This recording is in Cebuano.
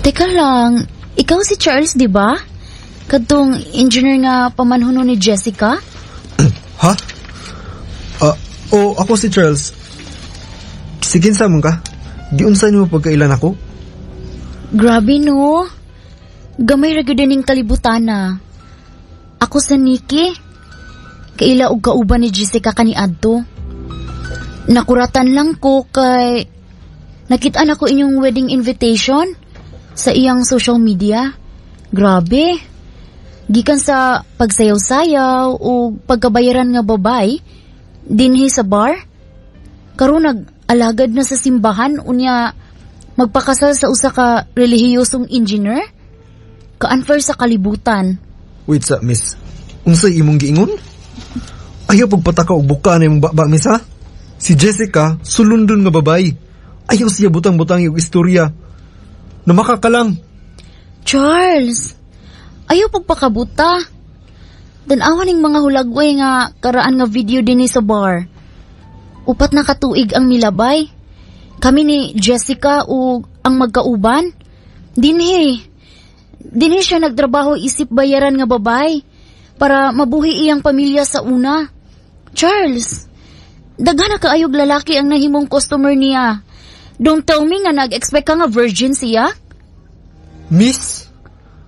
Teka lang, ikaw si Charles, di ba? Kadtong engineer nga pamanhuno ni Jessica? Ha? Ah, oh, ako si Charles. Sige sa mong ka? Giunsa nimo pagkailan ako? Grabe no. Gamay ra gyud ning kalibutana. Ako sa Nikki. Kaila og kauban ni Jessica kaniadto. Nakuratan lang ko kay nakita na ko inyong wedding invitation sa iyang social media. Grabe. Gikan sa pagsayaw-sayaw o pagkabayaran nga babay dinhi sa bar. Karon nag-alagad na sa simbahan, unya magpakasal sa usa ka relihiyosong engineer. Ka-unfair sa kalibutan. Wait sa, miss. Unsay imong giingon? Ayaw pagpataka og buka na imong baba, miss, ha? Si Jessica, sulundon nga babay. Ayaw siya butang-butang og istorya. Namaka ka lang. Charles, ayaw pagpakabuta. Tan-awa ning mga hulagway nga karaan nga video dinhi sa bar. 4 na katuig ang milabay. Kami ni Jessica ug ang magkauban. Dinhi. Dinhi siya nagtrabaho isip bayaran nga babay para mabuhi iyang pamilya sa una. Charles, daghan na kaayog lalaki ang nahimong customer niya. Don't tell me nga nag-expect ka nga virgin siya? Miss,